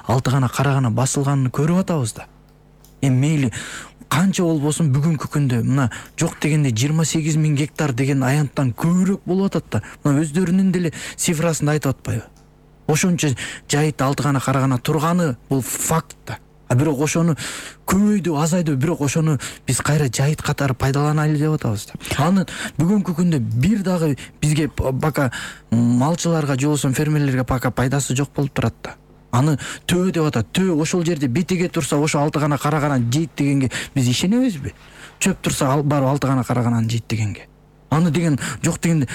алты гана кара гана басылганын көрүп атабыз да. Эми мейли канча болбосун бүгүнкү күндө мына жок дегенде 28 000 гектар деген аянттан көбүрөөк болуп атат да. Мына өздөрүнүн деле цифрасын айтып атпайбы? Ошончо жайыт алты гана кара гана турганы бул факт да. А бирок ошону көбөйдү, азайды, бирок ошону биз кайра жайыт катары пайдаланайлы деп атабыз да. Аны бүгүнкү күндө бир дагы бизге пока малчыларга же болбосо фермерлерге пока пайдасы жок болуп турат да. Аны төө деп атат. Төө ошол жерде бетеге турса ошо алты гана кара гана жейт дегенге биз ишенебизби? Чөп турса барып алты гана кара гана жейт дегенге. Аны деген жок дегенде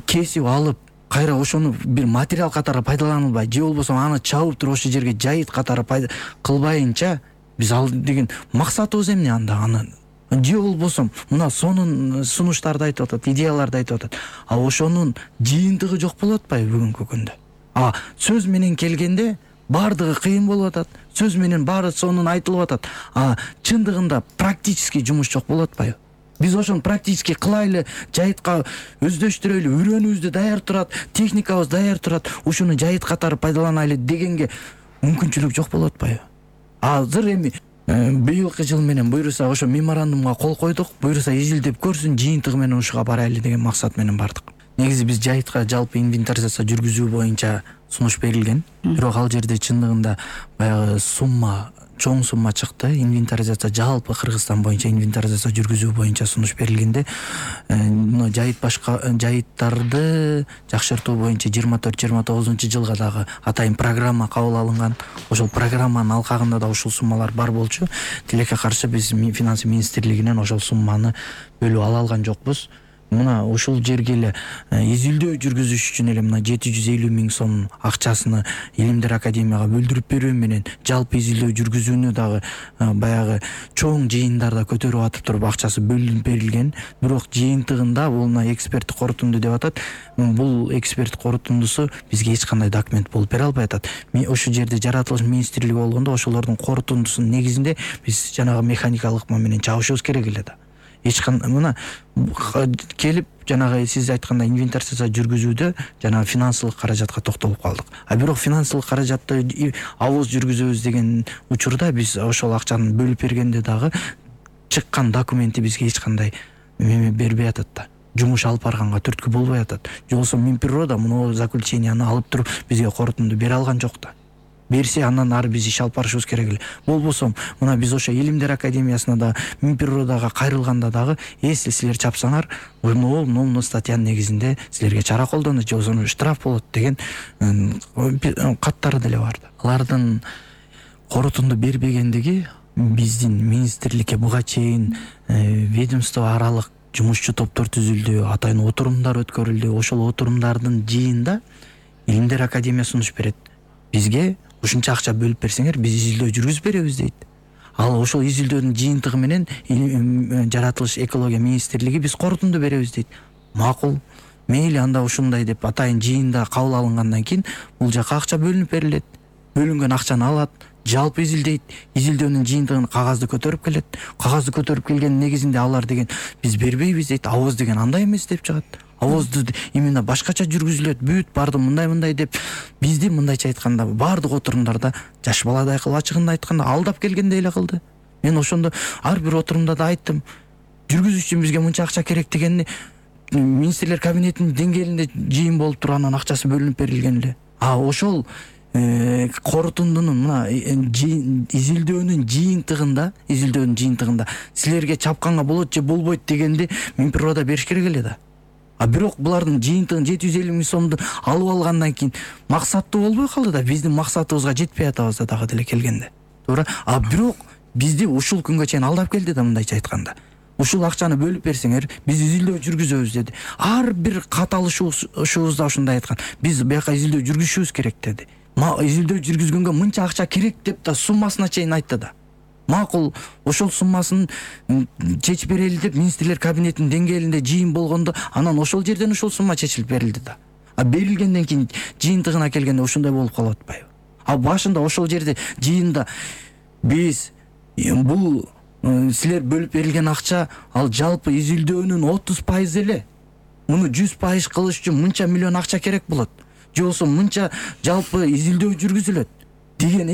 кесип алып кайра ошону бир материал катары пайдаланылбай же болбосо аны чабып туруп ошол жерге жайыт катары кылбайынча биз ал деген максатыбыз эмне анда аны? Же болбосо мына сонун сунуштарды айтып атат, идеяларды айтып атат. А ошонун жыйынтыгы жок болуп атпайбы бүгүнкү күндө? Сөз менен келгенде бардыгы кыйын болуп атат. Сөз менен баары сонун айтылып атат. Чындыгында практически жумуш жок болуп атпайбы? Биз ошону практически кылайлы, жайытка өздөштүрөлү, үйрөнүүбүздү даяр турат, техникабыз даяр турат, ушуну жайыт катары пайдаланайлы дегенге мүмкүнчүлүк жок болуп атпайбы? Азыр эми быйылкы жыл менен буйруса ошо меморандумга кол койдук, буйруса изилдеп көрсүн, жыйынтыгы менен ушуга барайлы деген максат менен бардык. Негизи биз жайытка жалпы инвентаризация жүргүзүү боюнча сунуш берилген. Бирок ал жерде чындыгында баягы чоң сумма чыкты. Инвентаризация жалпы Кыргызстан боюнча инвентаризация жүргүзүү боюнча сунуш берилгенде мына жайыттарды жакшыртуу боюнча 24-29 жылга дагы атайын программа кабыл алынган. Ошол программанын алкагында да ушул суммалар бар болчу. Тилекке каршы биз финансы министрлигинен ошол сумманы бөлүп ала алган жокпуз. Мына ушул жерге эле изилдөө жүргүзүш үчүн эле мына 750 000 сом акчасыны Илимдер академияга бөлдүрүп берүү менен жалпы изилдөө жүргүзүүнү дагы баягы чоң жыйындарда көтөрүп атып туруп акчасы бөлүнүп берилген. Бирок жыйынтыгында бул эксперттик корутунду деп атат. Бул эксперттик корутундусу бизге эч кандай документ болуп бере албай атат. Ошол жерде жаратылыш министрлиги болгондо ошолордун корутундусунун негизинде биз жанагы механикалык менен чабышыбыз керек эле да. Эч кандай мына келип жанагы сиз айткандай инвентаризация жүргүзүүдө жанагы финансылык каражатка токтолуп калдык. Бирок финансылык каражатты авыз жүргүзөбүз деген учурда биз ошол акчаны бөлүп бергенде дагы чыккан документи бизге эч кандай бербей атат да. Жумуш алып барганга түрткү болбой атат. Же болбосо Минприрода муну заключенияны алып туруп бизге корутунду бере алган жок да. Берсе андан ары биз иш алып барышыбыз керек эле. Болбосо мына биз ошо Илимдер академиясына да Минприродага кайрылганда дагы если силер чапсаңар, мына статьянын негизинде силерге чара колдонот же болбосо штраф болот деген каттары деле бар да. Алардын корутунду бербегендиги биздин министрликке буга чейин ведомство аралык жумушчу топтор түзүлдү, атайын отурумдар өткөрүлдү. Ошол отурумдардын жыйында Илимдер академия сунуш берет. Бизге ушунча акча бөлүп берсеңер, биз изилдөө жүргүзүп беребиз дейт. Ал ошол изилдөөнүн жыйынтыгы менен жаратылыш экология министрлиги биз корутунду беребиз дейт. Макул. Мейли анда ушундай деп атайын жыйында кабыл алынгандан кийин бул жака акча бөлүнүп берилет. Бөлүнгөн акчаны алат, жалпы изилдейт, изилдөөнүн жыйынтыгын кагазды көтөрүп келет. Кагазды көтөрүп келгендин негизинде алар деген биз бербейбиз дейт. Авыз деген андай эмес деп чыгат. Авызды именно башкача жүргүзүлөт, бүт барды мындай деп бизди мындайча айтканда бардык отурумдарда жаш баладай кылып ачыгында айтканда алдап келгендей эле кылды. Мен ошондо ар бир отурумда да айттым. Жүргүзүү үчүн бизге мынча акча керек дегенди министрлер кабинетинин деңгээлинде жыйын болуп туруп анан акчасы бөлүнүп берилген эле. Ошол корутундунун мына изилдөөнүн жыйынтыгында силерге чапканга болот же болбойт дегенди Минприрода бериш керек эле да. Бирок булардын жыйынтыгын 750 000 сомду алып алгандан кийин максаттуу болбой калды да. Биздин максатыбызга жетпей атабыз да дагы деле келгенде. Туура. Бирок бизди ушул күнгө чейин алдап келди да мындайча айтканда. Ушул акчаны бөлүп берсеңер, биз изилдөө жүргүзөбүз деди. Ар бир каталышуубузда ушундай айткан. Биз бияка изилдөө жүргүзүшүбүз керек деди. Изилдөө жүргүзгөнгө мынча акча керек деп да суммасына чейин айтты да. Макул, ошол суммасын чечип берели деп министрлер кабинетинин деңгээлинде жыйын болгондо анан ошол жерден ушул сумма чечилип берилди да. Берилгенден кийин жыйынтыгына келгенде ушундай болуп калып атпайбы? Башында ошол жерде жыйында биз бул силер бөлүп берилген акча ал жалпы изилдөөнүн 30% эле. Муну 100% кылыш үчүн мынча миллион акча керек болот. Же болбосо мынча жалпы изилдөө жүргүзүлөт деген